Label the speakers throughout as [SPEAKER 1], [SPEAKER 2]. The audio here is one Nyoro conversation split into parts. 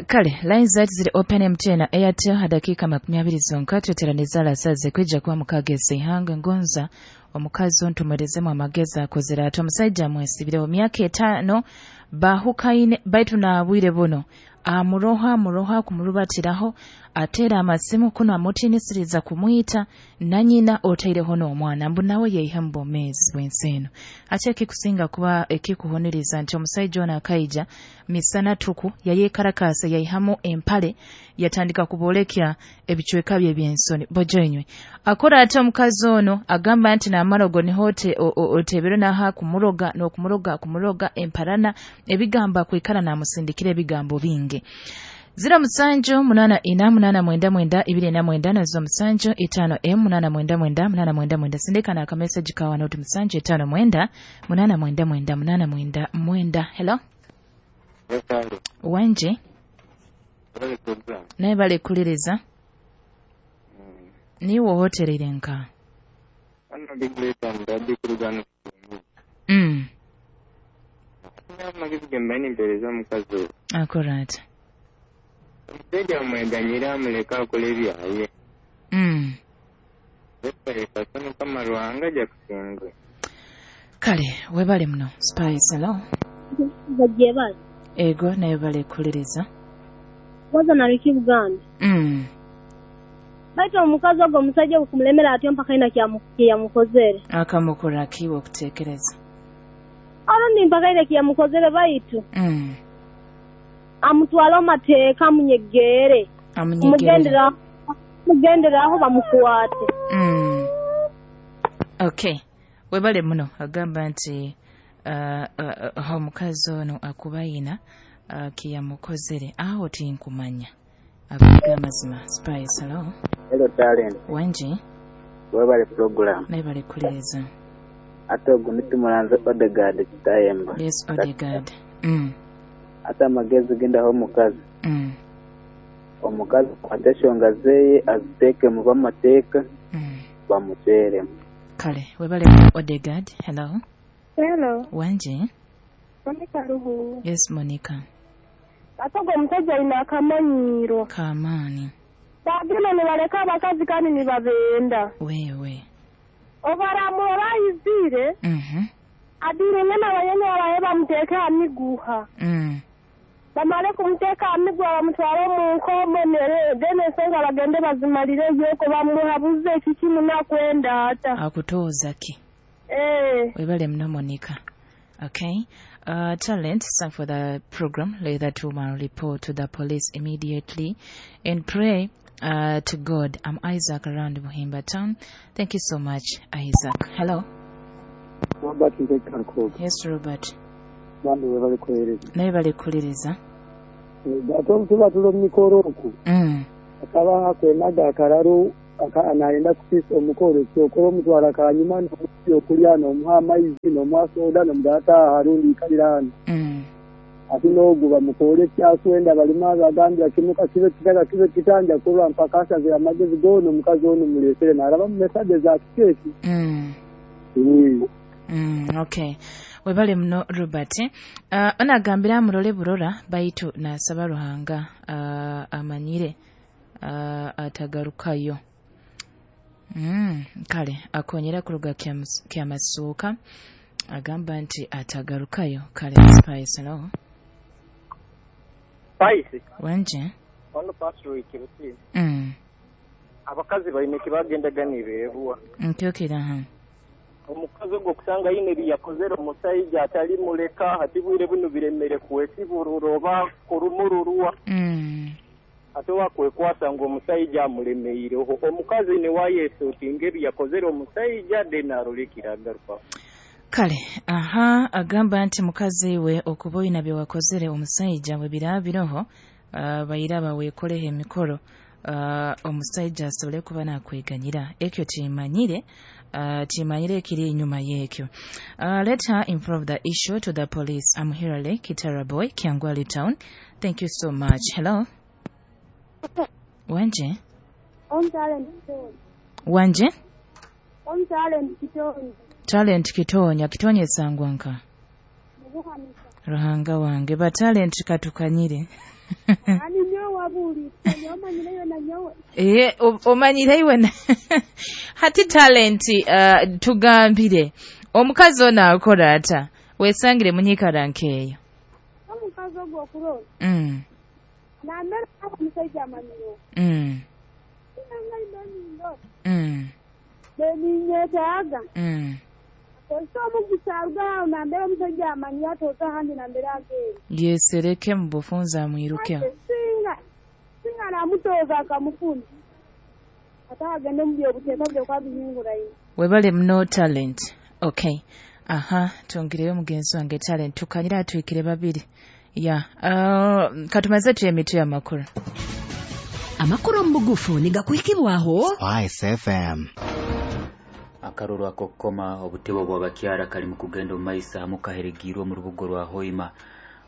[SPEAKER 1] Kale lines zaitu ziri open MTN na Airtel ha dakika 20 zonka tweteraniza lasaze kwijja kuba mukagezi ihanga ngonza omukazi ontumwerezemu amagezi akozera ati omusajja amwesibireho myaka 5 bahukaine baitu naabwire buno amuroha kumurubatiraho atera amasimu kuno amutinisiriza kumwita na nyina otaireho n'omwana mbu nawe yeiha mu bwomeezi bw'ensi eno. Ate ekikusinga kuba ekikuhuniriza nti omusajja ono akaija misana tuku yayeekarakasa yaihamu empale yatandika kuboolekya ebicweka bye eby'ensoni bojoinywe. Akora ate omukazi ono agamba nti n'amarogo niho otebere n'aha kumuroga n'okumuroga kumuroga emparana ebigambo akwikara n'amusindikira ebigambo bingi. 07 8 4 8 9 29 na 07 5 M 8 9 9 8 9 sindika na akameseji kawa noti 7 5 9 8 9 8 9. Hello wanje naye bale kuliriza niwo hotelire nka akorata
[SPEAKER 2] omusajja amweganyira amuleka akola ebyaye. Mukama Ruhanga ajja kusinga.
[SPEAKER 1] Kale webale muno Spice. Hello
[SPEAKER 3] bajebale
[SPEAKER 1] ego naye bale kuliriza
[SPEAKER 3] waza naliki Buganda. Baitu omukazi ogwo omusajja okumulemera atyo mpaka ina kyamukozere
[SPEAKER 1] akamukora kiwe okuteekereza
[SPEAKER 3] arundi mpaka ina kyamukozere baitu amutwala amateeka amunyegere mugenderaho bamukwate.
[SPEAKER 1] Okay webale muno agamba nti omukazi ono akubayina kiyamukozere aho tinkumanya abiga amazima. Spice. Hello
[SPEAKER 2] hello talent
[SPEAKER 1] wanje
[SPEAKER 2] webale program
[SPEAKER 1] naye kuliriza
[SPEAKER 2] ate ogwo nitumulanze Odegaard Kitayemba.
[SPEAKER 1] Yes Odegaard.
[SPEAKER 2] Ate amagezi gendaho omukazi. Omukazi akwate eshonga zeye aziteeke mu bamateeka bamuteremu.
[SPEAKER 1] Kale webale Odegaard. Hello
[SPEAKER 3] hello
[SPEAKER 1] wanje
[SPEAKER 3] Monica Ruhu.
[SPEAKER 1] Yes Monica.
[SPEAKER 3] Ate ogwo omusajja alina akamanyiro
[SPEAKER 1] kamaani
[SPEAKER 3] bagenda ne baleka abakazi kandi nibabenda
[SPEAKER 1] wewe
[SPEAKER 3] obaramura bayizire adire ngana bayenya baye bamuteeke amiguha bamale kumuteeka amiguha bamutwale mu nkomo then ensonga bagende bazimalireyo ko bamuhabuze ekiki munakwenda ata
[SPEAKER 1] akutooza ki webale muno Monica. Okay. Talent, thank for the program. Let that woman report to the police immediately and pray to God. I'm Isaac around Buhimba town. Thank you so much, Isaac. Hello.
[SPEAKER 4] Robert.
[SPEAKER 1] Yes, Robert.
[SPEAKER 4] Naye
[SPEAKER 1] bali kuliriza.
[SPEAKER 4] Ate omukoro oku. Akaba akwenaga akararu anayenda kusiisa omukoro kyokora omutwara kanyuma n'okulya n'omuha amaizi n'omuha soda n'omudata harundi ikalira hano. Ate n'ogu bamukoore ekyaswenda balima bagambira kimuka kibe kitaka kibe kitanja kurwa mpaka asazire amagezi goona omukazi ono muleesere n'araba mu mesaje za kikeeki.
[SPEAKER 1] Okay. Webale muno Robert. Onagambira amurole burora baitu nasaba Ruhanga amanyire atagarukayo. Kale akonyera kuruga kyamasuuka agamba nti atagarukayo. Kale Spice. Hello
[SPEAKER 2] Spice
[SPEAKER 1] wanje
[SPEAKER 2] ono pastor ikiruti. Abakazi balina kibagendaga nibeebuwa
[SPEAKER 1] nkyokera ha
[SPEAKER 2] omukazi ogwo kusanga yine byakozere omusajja atali muleka hati bwire buno biremere kwesiburura oba kurumururwa. Ate wakwekwasa ngo omusajja amulemeireho omukazi ne wayesuutinga ebyakozere omusajja then arolekera agaruka.
[SPEAKER 1] Kale aha agamba nti mukazi we okuba oyina bye wakozere omusajja bwe biraabiroho bayira baweekoleho emikolo omusajja asobole kuba nakweganyira ekyo kimanyire kimanyire ekiri enyuma y'ekyo. Let her improve the issue to the police. I'm Hirale Kitara Boy, Kyangwali town. Thank you so much. Hello wanje wanje Talent Kitonya Kitonya esangwa nka Ruhanga wange ba Talent katukanyire. Omanyire iwe hati talent tugambire omukazi ono akora ata wesangire munyikara nkeyo
[SPEAKER 3] omukazi ogwo okurora nambere omusajja amanyire beninyetaaga
[SPEAKER 1] yesereke mu bufunza amwirukeho
[SPEAKER 3] singa namutoza akamufuna atagende mu byobuteeka byokwabihingurayo.
[SPEAKER 1] Webale muno talent. Okay, aha, tongereyo mugenzi wange talent tukanyira atwikire babiri ya katumaze tuye mitwe y'amakuru.
[SPEAKER 5] Amakuru mu bugufu nigakuhikibwaho
[SPEAKER 6] Spice FM.
[SPEAKER 7] Akaruru akokoma obutebo bw'abakyara kali mu kugenda omu maiso mukaheregirwe mu rubugo rwa Hoima.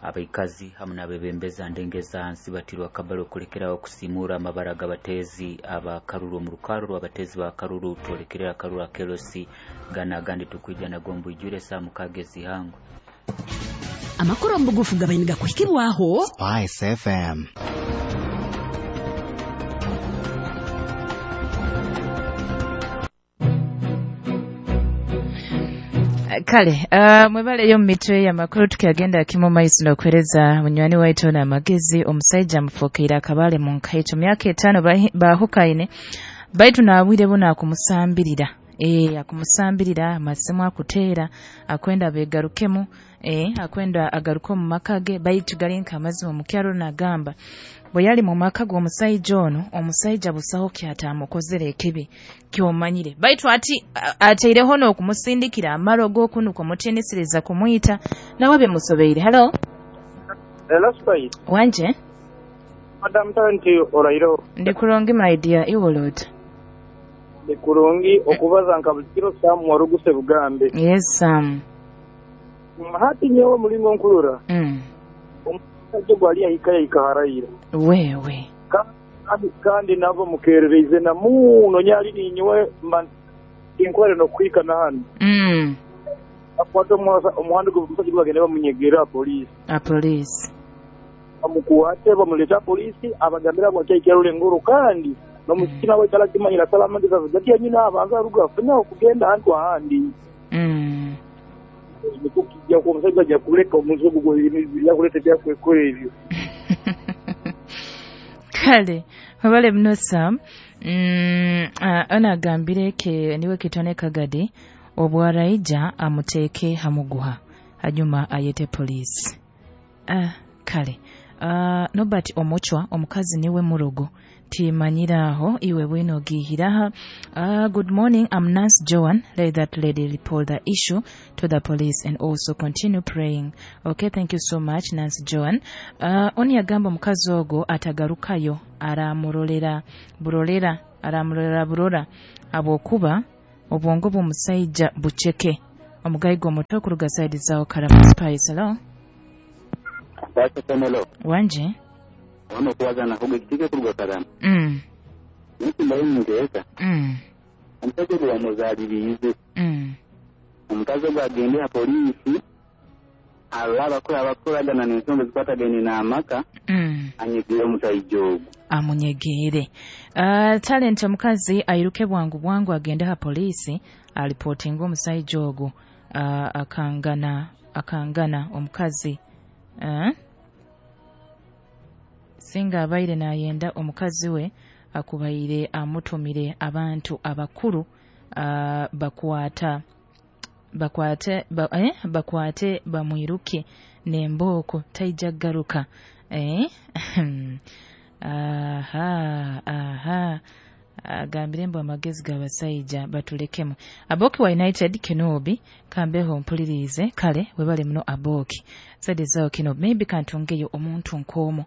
[SPEAKER 7] Abaikazi hamwe n'abebembeza ndengeza hansi batirwa akabalo okulekeraho okusimura amabara g'abateezi abakaruru omu rukaru rw'abateezi ba karuru twolekerera akaruru akerosi gana agandi tukwija nago mbwijure saa mukaaga ezihangwe.
[SPEAKER 5] Amakuru mu bugufu gabaye nigakuhikibwaho
[SPEAKER 6] Spice FM.
[SPEAKER 1] Kale, mwebaleyo mu mitwe y'amakuru tukyagenda kimu maiso n'okwereza munywani waitu n'amagezi. Omusajja amufuukiire akabaale mu nkaito myaka 5 bahukaine baitu naabwire buno akumusambirira akumusambirira amasimu akuteera akwenda begarukemu akwenda agaruke mu maka ge baitu gali nk'amazima omukyalo nagamba bwe yali mu maka g'omusajja ono omusajja busaho kyataamukozere ekibi kyomanyire baitu ati ateireho n'okumusindikira amalo g'okunuka omutiinisiriza kumuyita nawe bimusobeire. Hello.
[SPEAKER 2] Hello Spice.
[SPEAKER 1] Wanje
[SPEAKER 2] Madam Talent orairo.
[SPEAKER 1] Ndi kurungi my dear, iwe olota?
[SPEAKER 2] Ndi kurungi okubaza nka buli kiro Sam waruguse bugambe.
[SPEAKER 1] Yes Sam.
[SPEAKER 2] Hati nyewe mulingo nkurura. Omusajja gwali yahika yahika
[SPEAKER 1] wewe
[SPEAKER 2] kandi nabo mukerereize na muno nyali ninyewe inkwere no kwika na hano. Akwata omuhanda gw'omusajja gwagenda bamunyegera polisi.
[SPEAKER 1] A polisi
[SPEAKER 2] bamukwate bamuleta polisi abagambira bwakyaikyarule nguru kandi n'omusikina we talakimanyira salama ndizavuga nyina abanza aruga afuna okugenda hantu ahandi. Nikukijja ku omusajja ajja kuleka omuzigu gwe yakuleta ebyakwekora ebyo.
[SPEAKER 1] Kale wabale muno Sam. Ono agambire ke niwe kitone kagadi obwaraija amuteeke hamuguha hanyuma ayete poliisi. Kale Nobert Omuchwa omukazi niwe murogo timanyiraho iwe bwino gihiraha. Good morning, I'm Nurse Joan. Let that lady report the issue to the police and also continue praying. Okay, thank you so much Nurse Joan. Oni agamba omukazi ogwo atagarukayo aramurolera burolera aramurolera burora abwokuba obwongo bw'omusajja buceke. Omugayigo omuto okuruga side zaawo Karama Spice. Hello. Wanje
[SPEAKER 8] ono kuwazana huge kitike kuruga Karama. Nisimbayo munteeka. Omusajja gwe bamuzaaliriize. Omukazi ogwo agende ha poliisi arole abakolagana n'ensonga ezikwatagaine n'amaka anyegere omusajja ogwo.
[SPEAKER 1] Amunyegere. Talent omukazi airuke bwangu bwangu agende ha poliisi alipotinga omusajja ogwo akangana omukazi. Singa abaire nayenda omukazi we akubaire amutumire abantu abakuru bakwate bamwiruke nembooko taija garuka. Aha agambire mbu amagezi g'abasajja batulekemu. Aboki wa United Kenobi kambeho mpulirize. Kale webale muno Aboki side zao Kenobi maybe kantungeyo omuntu nkomo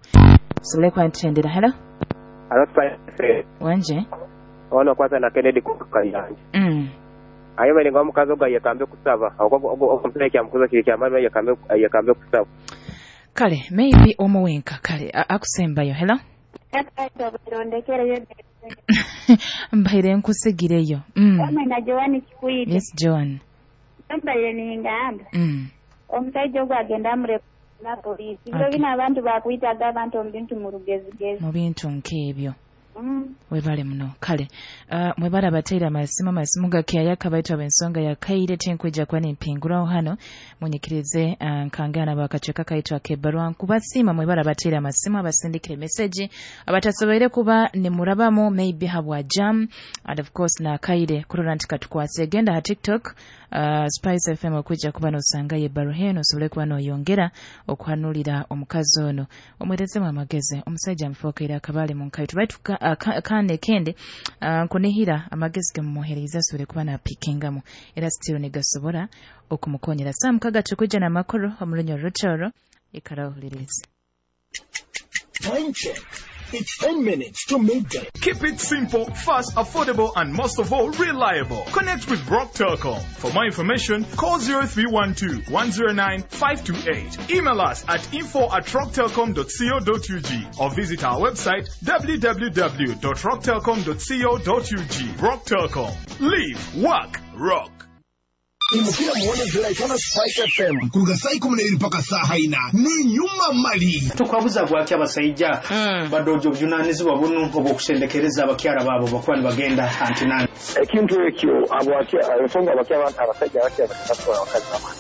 [SPEAKER 1] sobole kwantendera. Hello.
[SPEAKER 2] Hello Spice.
[SPEAKER 1] Wanje
[SPEAKER 2] ono kwanza na Kennedy kukayanja. Ayo bali ngo omukazi ogwo yekambe kusaba omusajja kyamukuza kiri kyamaani yekambe kusaba.
[SPEAKER 1] Kale maybe omuwenka kale akusembayo. Hello. Mbaire nkusigireyo.
[SPEAKER 3] Omwana Joan Kikwite.
[SPEAKER 1] Yes Joan.
[SPEAKER 3] Mbaire ningamba. Omusajja ogwo agenda amure
[SPEAKER 9] Na poliisi. Biro bino abantu bakwitaga abantu omu bintu mu rugezigezi.
[SPEAKER 1] Mu bintu nk'ebyo. Webale muno. Kale mwebale abateire amasimu gakyayaka baitu ab'ensonga yakaire tinkwija kuba nimpinguraho hano munyikirize nkangana bakacweka kaitu ak'ebbarwa. Nkubasiima mwebale abateire amasimu, abasindikire meseji, abatasoboire kuba nimurabamu maybe habwa jam and of course nakaire kurora nti katukwase. Genda ha TikTok Spice FM okwijja kuba nosangayo ebbaruha eno osobole kuba noyongera okuhanulira omukazi ono omwerezemu amagezi. Omusajja amufokeire akabaale mu nkaitu baitu kane kende nkunihira amagezi gemumuhereza asobole kuba napikingamu era sitiro negasobora okumukonyera. Saa mukaga tukujja n'amakuru omu Rutoro ikara ohulirize.
[SPEAKER 10] Time check. It's 10 minutes to midday.
[SPEAKER 11] Keep it simple, fast, affordable, and most of all, reliable. Connect with Rock Telcom. For more information, call 0312 109 528. Email us at info@rocktelcom.co.ug or visit our website www.rocktelcom.co.ug. Rock Telcom. Live, work, rock.
[SPEAKER 10] Imukira muone ziraitana Spice FM kuruga saa 12 mpaka saa 4 ni nyuma mali.
[SPEAKER 12] Tukwabuza gwaki abasajja badojo obujunanizibwa buno obwokusendekereza abakyala baabo bakuba nibagenda antinani.
[SPEAKER 13] Ekintu ekyo ensonga abakyala abasajja abakyala batatwala abakazi bamwe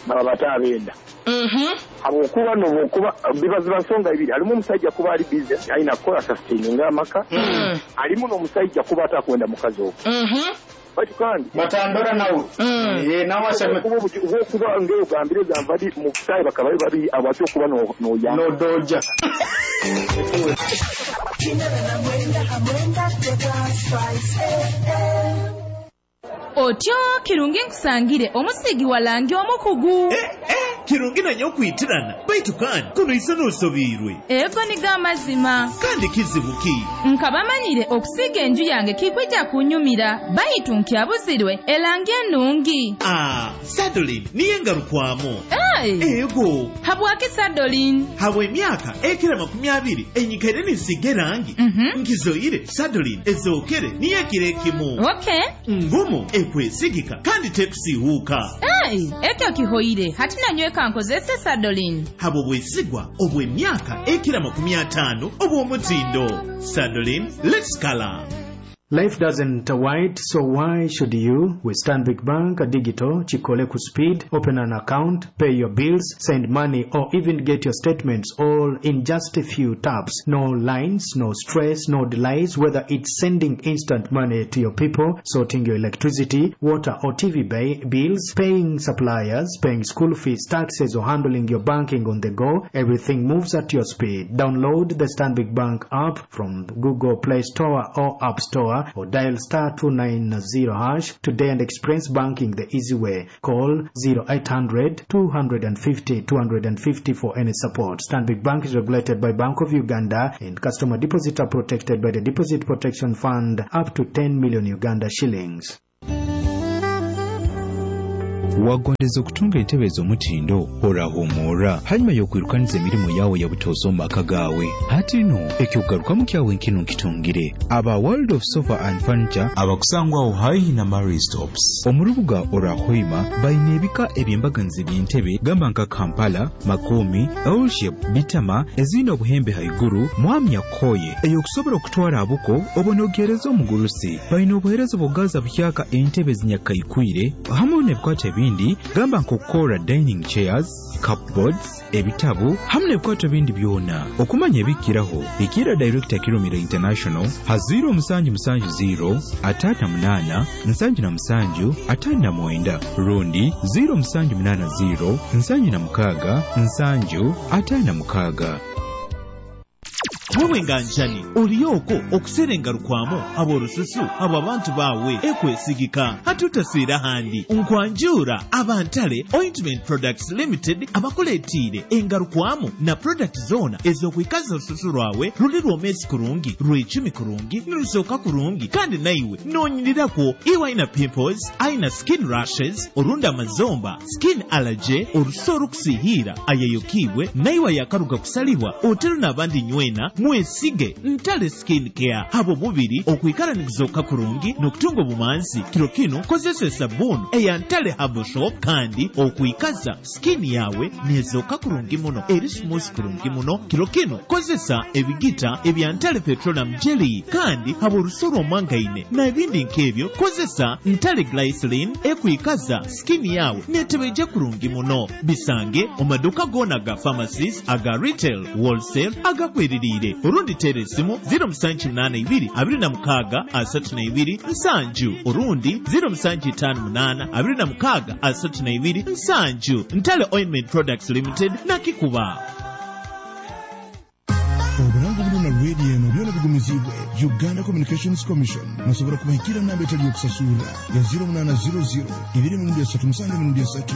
[SPEAKER 13] baba batabenda. Habwokuba nobwokuba bibaziba nsonga ibiri, alimu omusajja kuba ali busy alina kukola sustaining amaka, alimu n'omusajja kuba atakwenda mukazi ogwo. Batu kandi
[SPEAKER 12] batandora nawe nawe aseme
[SPEAKER 13] kuba ngeo gambire zamvadi mu sai bakaba babi abatyo kuba no ya
[SPEAKER 12] no doja.
[SPEAKER 14] Otyo kirungi nkusangire omusigi walangi omukugu.
[SPEAKER 15] Kirungi nanyo okwitirana baitu kandi kuno isono osobirwe.
[SPEAKER 14] Ego niga amazima.
[SPEAKER 15] Kandi kizibu ki?
[SPEAKER 14] Nkabamanyire okusiga enju yange kikwija kunyumira baitu nkyabuzirwe elangi ennungi.
[SPEAKER 15] Sadolin niye ngarukwamo.
[SPEAKER 14] Ego. Habwaki Sadolin?
[SPEAKER 15] Habwe emyaka ekira 20 enyikaire ninsiga erangi. Nkizoire Sadolin ezookere niye ekimu.
[SPEAKER 14] Okay.
[SPEAKER 15] Ngumu ekwesigika kandi tekusiihuuka.
[SPEAKER 14] Ekyo kihoire hati nanyweka nkozese Sadolin.
[SPEAKER 15] Habo bwesigwa obw'emyaka ekira 50 obw'omutindo. Sadolin, let's color.
[SPEAKER 16] Life doesn't wait, so why should you? With Stanbic Bank Digital, Chikole ku speed, open an account, pay your bills, send money, or even get your statements all in just a few taps. No lines, no stress, no delays, whether it's sending instant money to your people, sorting your electricity, water or TV bills, paying suppliers, paying school fees, taxes, or handling your banking on the go, everything moves at your speed. Download the Stanbic Bank app from Google Play Store or App Store, or dial *290# today and experience banking the easy way. Call 0800 250 250 for any support. Stanbic Bank is regulated by Bank of Uganda and customer deposits are protected by the Deposit Protection Fund up to 10 million Uganda shillings.
[SPEAKER 17] Wagondeza okutunga entebe ez'omutindo orahumura hanyuma y'okwirukaniza emirimu yawe ya butoosa omu maka gaawe. Hati no ekyokugarukamu kyawe nkino nkitungire aba World of Sofa and Furniture abakusangwaho haihi na Mary Stops omu rubuga orwa Hoima. Baine ebika eby'embaganiza eby'entebe gamba nka Kampala, Makomi, L-shape, Bitama eziine obuhembe haiguru mwamya koye eyokusobola okutwara abuko obonogereza omugurusi. Baine obuheereza bw'okugaza buhyaka entebe zinyakaikwire hamwe n'ebikwato ebindi gamba nk'okukora dining chairs, cupboards, ebitabu hamwe n'ebikwato bindi byona. Okumanya ebikiraho ikira Director Kirumira International ha 0770 58 77 59 rundi 0780 76 7 56.
[SPEAKER 15] Wewe nganjani oliyoko okuserenga rukwamo ab'orususu abo abantu bawe ekwesigika hatutaswira handi nkwanjura abantale Ointment Products Limited abakuleetiire engarukwamo na product zona ez'okwikaza orususu rwawe ruli rwomesi kurungi rwecumi kurungi nirusooka kurungi kandi naiwe noonyirirako. Iwe aina pimples, aina skin rashes, orundi amazomba, skin allergy, orusu orukusihiira ayayokibwe naiwe ayakaruga kusalibwa otero n'abandi nywena. Mwesige Ntale Skin Care habw'omubiri okwikara niguzooka kurungi n'okutunga obumanzi. Kiro kinu kozesa esabbuuni eya Ntale Herbal Soap kandi okwikaza skin yawe nezooka kurungi muno, eri smooth kurungi muno. Kiro kinu kozesa ebigita ebya Ntale Petroleum Jelly kandi habw'orusoro omwangaine n'ebindi nk'ebyo kozesa Ntale Glycerin ekwikaza skin yawe netebeija kurungi muno. Bisange omu maduuka goona aga pharmacies, aga retail, wholesale, agakweririire. Orundi teera esimu 0782 26 32 7 orundi 0758 26 32 7. Ntale Ointment Products Limited nakikuba.
[SPEAKER 10] Oburango buno na radio eno byona bigumizibwe Uganda Communications Commission. Nosobola kubahikira namba etali yokusasurra ya 0800 2 3 7 3.